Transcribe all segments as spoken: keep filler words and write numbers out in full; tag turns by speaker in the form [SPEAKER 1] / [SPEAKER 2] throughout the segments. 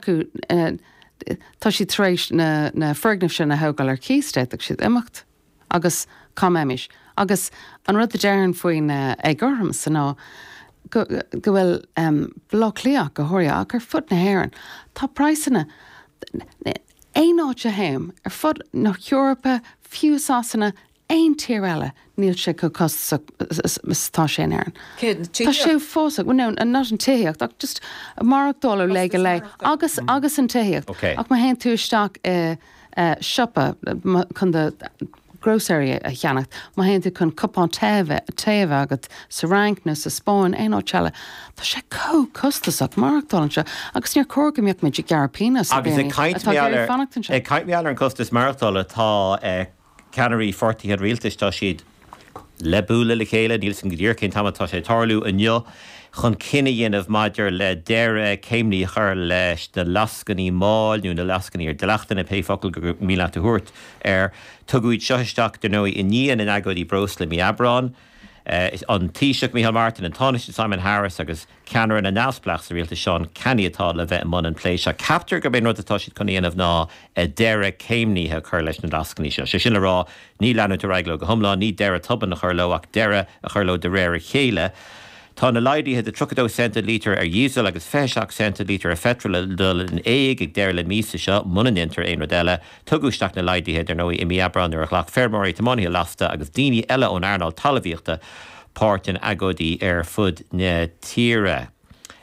[SPEAKER 1] acu uh, tá siad tar éis na, na foirgnimh sin a thógáil ar cíos d'fhéadfadh siad imeacht agus cá mbeimis. Agus an rud a déarfainn faoin uh, éagothromas ná go, go bhfuil um, Baile Átha Cliath go háirithe ach ar fud na hÉireann. Tá praghsanna aon áit a théim ar fud na hEorpa fiú Sasana aon tír eile níl sé chomh costasach is tá sé in Éirinn. Tá sé fós well, no, not an tithíocht ach just maireachtáil ó lá go lá agus agus an tithíocht
[SPEAKER 2] Okay.
[SPEAKER 1] ach má théann tú isteach i uh, siopa chun do grocery a cheannacht má théann tú chun cupán tae tae agat sa Fhrainc nó sa Spáinn aon áit eile Tá sé chomh costasach maireachtáil anseo agus níor chóir go mbeadh muid ag gearradh pionós
[SPEAKER 2] Agus ag caint
[SPEAKER 1] fanacht anseo.
[SPEAKER 2] ag caint ar an costas maireachtála tá eh, ceannairí pháirtithe rialtais tá siad le bualadh le chéile níl san go díreach cén t-am atá sé tarlú inniu chun cinneadh a dhéanamh maidir le deireadh céimnithe a chur leis na lascainí máil nó na lascainí ar dleachtanna pé focal gur mian leat a thabhairt ar tugadh seo isteach dar ndóigh i ndiaidh na n-agóidí breosla mí Aibreán. Uh, an Taoiseach Micheál Martin an Tánaiste Simon Harris agus ceannaire na neamhspleách sa rialtas Seán Canney atá le bheith i mbun an plé seo. Ceaptar gurb é an rud atá siad chun dhéanamh ná a deireadh céimnithe chur leis na lascainí seo. Sé sin le rá ní leanúint ar aghaidh leo go hiomlán ní deireadh tobann a chur leo ach deireadh a chur leo de réir a chéile. Tá na laghduithe de tríocha dó cent lítear ar dhíosal agus fiche seacht cent lítear ar pheitreal le dul in éag ag deireadh na míosa seo muna ndéantar aon rud eile, tugadh isteach na laghduithe dar ndóigh i mí Aibreán nuair a ghlac feirmeoirí tiománaithe lasta agus daoine eile ón earnáil talmhaíochta páirt in agóidí ar fud na tíre.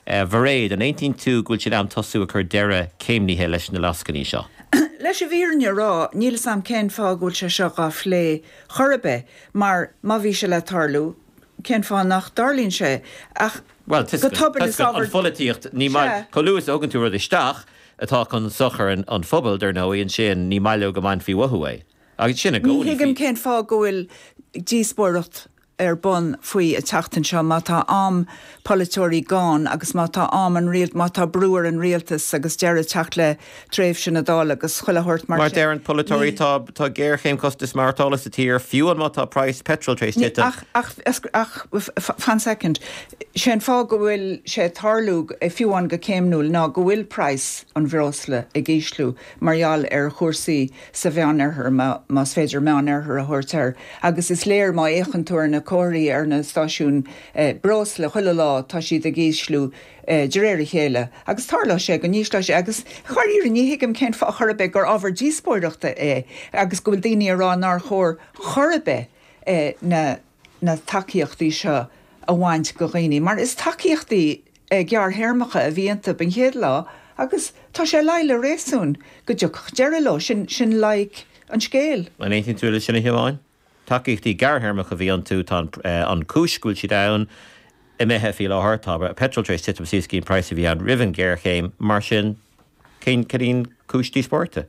[SPEAKER 2] Uh, Mhairéad an aontaíonn tú go bhfuil sé am tosú a chur deireadh céimnithe leis na lascainí seo.
[SPEAKER 3] Leis an bhfírinne a rá níl a fhios agam cén fáth go bhfuil sé seo á phlé chor ar bith mar má bhí sé le tarlú cén fáth nach dtarlaíonn sé ach
[SPEAKER 2] Well
[SPEAKER 3] go tobann is
[SPEAKER 2] an
[SPEAKER 3] ábhar-
[SPEAKER 2] pholaitíocht ní
[SPEAKER 3] Sea.
[SPEAKER 2] chomh luath is a thugann tú rud isteach atá chun sochar an, an phobal dar ndóigh ansin ní maith leo go mbainfí uathu é. Agus sin a
[SPEAKER 3] Ní
[SPEAKER 2] gcónaí
[SPEAKER 3] thuigim cén fáth go bhfuil díospóireacht ar bun faoi an tseachtain seo má tá am polaiteoirí gann agus má tá am an rialt má tá brú ar an rialtas agus deireadh teacht le tréimhse na Dála agus chuile shórt mar
[SPEAKER 2] Mar
[SPEAKER 3] sin.
[SPEAKER 2] deir an polaiteoirí
[SPEAKER 3] Ní-
[SPEAKER 2] tá tá géarchéim costas maireachtála sa tír fiú an má tá praghas petrol tar éis
[SPEAKER 3] Ní-
[SPEAKER 2] titim.
[SPEAKER 3] Ach ach ach ach fan second sé an fáth go bhfuil sé tarlú eh, fiú an go céimniúil ná go bhfuil praghas an bhreosla ag ísliú mar gheall ar chúrsaí sa Mheánoirthear más féidir Meánoirthear a thabhairt air. agus is léir má fhéachann tú ar na comharthaí ar na stáisiúin eh, breosla chuile lá tá siad ag ísliú eh, de réir a chéile. agus tarlóidh sé go n-ísleoidh sé agus chuir ní thuigim cén fáth chor ar bith gur ábhar díospóireachta é agus go bhfuil daoine ag rá nár chóir chor ar bith eh, na na tacaíochtaí seo a bhaint de dhaoine, mar is tacaíochtaí eh, gearrthéarmacha a bhí iontu an chéad lá agus tá sé le le réasún go dtiocfadh deireadh leo sin sin like an scéal.
[SPEAKER 2] An aontaíonn tú le sin a Shiobháin? Tacaíochtaí gearrthéarmacha a bhí iontu tá eh, an chúis go bhfuil siad ann imithe faoi láthair tá petrol tar éis titim suas go dtí an praghas a bhí ann roimh an géarchéim mar sin cén cén cúis díospóireachta.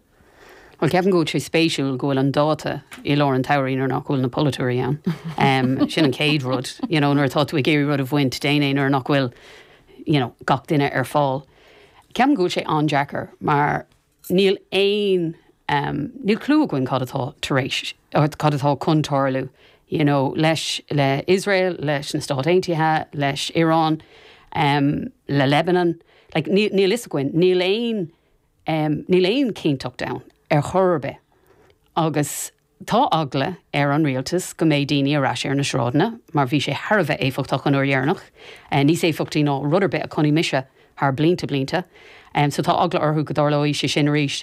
[SPEAKER 4] Well ceapaim go sé spéisiúil go bhfuil an dáta i lár an tsamhraidh nuair nach bhfuil na polaiteoirí ann. Um, sin an chéad rud, you know, nuair atá tú ag iarraidh rud a bhaint déan é nuair nach bhfuil you know, gach duine ar fáil. Ceapaim go bhfuil sé an-deacair mar níl aon um, níl clue againn cad atá tar éis cad atá chun tarlú. You know, leis le Israel, leis na Stáit Aontaithe, leis Iran, um, le Lebanon, like, níl níl a fhios againn, níl aon um, níl aon cinnteacht ann ar chor ar bith. Agus tá eagla ar an rialtas go mbeidh daoine ar ais ar na sráideanna, mar bhí sé thar a bheith éifeachtach an uair dheireanach, uh, níos éifeachtaí ná rud ar bith a chonaic mise thar blianta blianta. Um, so tá eagla orthu go dtarlóidh sé sin arís.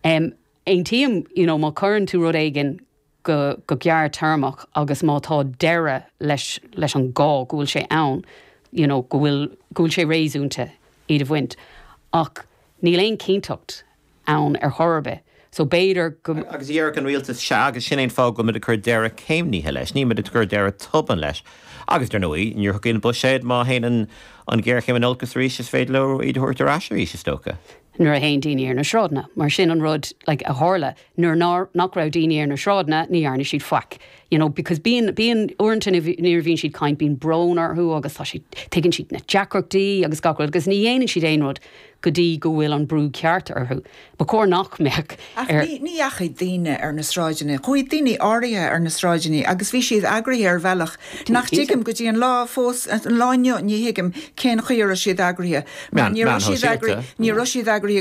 [SPEAKER 4] Um, Aontaím you know, má chuireann tú rud éigin go, go gearrthéarmach agus má tá deireadh leis, leis an gá go bhfuil sé ann, you know, go bhfuil go bhfuil sé réasúnta iad a bhaint. Ach níl aon cinnteacht ann ar chor ar bith. So b'fhéidir go
[SPEAKER 2] Agus deir an rialtas se agus sin an fáth go bhfuil muid ag cur deireadh céimnithe leis, ní muid ag cur deireadh tobann leis. Agus dar ndóigh, níor thug an buiséad má théann an an géarchéim in olcas arís is féidir leo iad a thabhairt ar ais arís is dócha.
[SPEAKER 4] nuair a théann daoine ar na sráideanna, mar sin an rud like, a tharla nuair ná nach raibh daoine ar na sráideanna ní dhearna siad faic. You know, because bíonn bíonn uaireanta nuair a bhíonn siad ag caint bíonn brón orthu agus tá siad tuigeann siad na deacrachtaí agus gach rud, agus ní dhéanann siad aon rud go dtí go bhfuil an brú ceart orthu. Ba chóir nach mbeadh
[SPEAKER 3] Ach ní ní dheachaigh daoine ar na sráideanna, chuaigh daoine áirithe ar na sráideanna agus bhí siad eagraithe ar bhealach nach dtuigim go dtí an lá fós an lá inniu ní thuigim cén chaoi a raibh siad eagraithe. Mar
[SPEAKER 2] Meán-
[SPEAKER 3] ní raibh
[SPEAKER 2] meán
[SPEAKER 3] siad eagraithe
[SPEAKER 2] shóisialta.
[SPEAKER 3] ní raibh siad eagraithe